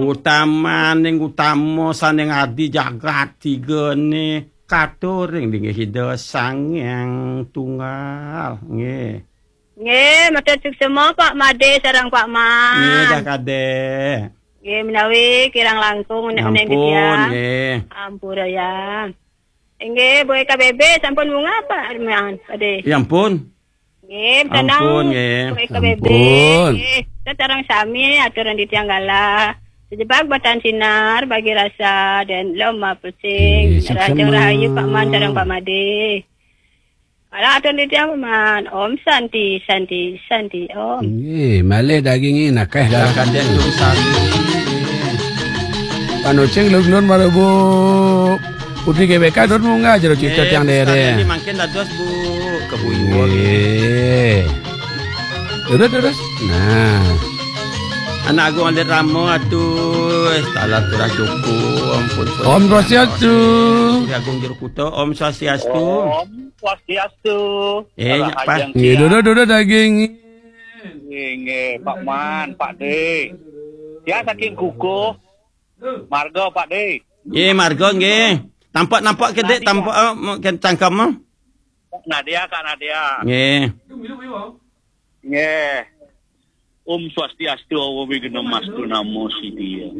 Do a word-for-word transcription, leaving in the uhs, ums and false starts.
Utamaning utama sané ngadi jagat tigané katuring linggih Ida Sang Hyang Tunggal. Nggih. Nggih, matur suksma Pak Madé sareng Pak Man. Nggih, dah kadék. Nggih, menawi kirang langkung unek-unek. Ampun, titiang. Nggih. Ampura ya. Inggih, Bu Eka B B sampun munggah Pak Man, Pak Dé? Ya ampun. Nggih, tenang. Ampun, nggih. Bu Eka B B. Ampun. Nggih, sareng sami aturang titiang galah. Sejebak batan sinar bagi rasa dan loma pusing. Nggih, suksma. Rahayu Pak Man sareng Pak Madé. Kala aturang titiang Pak Man. Om Santi, Santi, Santi, Om. Nggih, malih dagingé nakeh. Lah, darah kadék Om Santi. Panucing lun-lun mara Bu Putri G B K, dur munggah jero cita. Nggih, tiang dere. Mangkin dados Bu Kebuyuh. Nggih. Terus, terus. Nah. Anak Agung Alit Rama, aduh, talar turah cukup, ampun, ampun. Om Swastiastu. Putri Agung Jero Kuta, Om Swastiastu. Om Swastiastu. Eh, Salah Pak. Ajeng. Nggih, tiang. Duduk, duduk daging. Nggih, nggih, Pak Man, Pak Dé. Tiang saking Kukuh. Marga, Pak Dé. Nggih, marga nggih. Tampak, nampak kedék, Nadia. Tampak, eh, cangkem, eh. Nadia, Kak Nadia. Nggih. Nggih. Om Swastiastu, Awa Wighnam Astu Namo Siddhaya.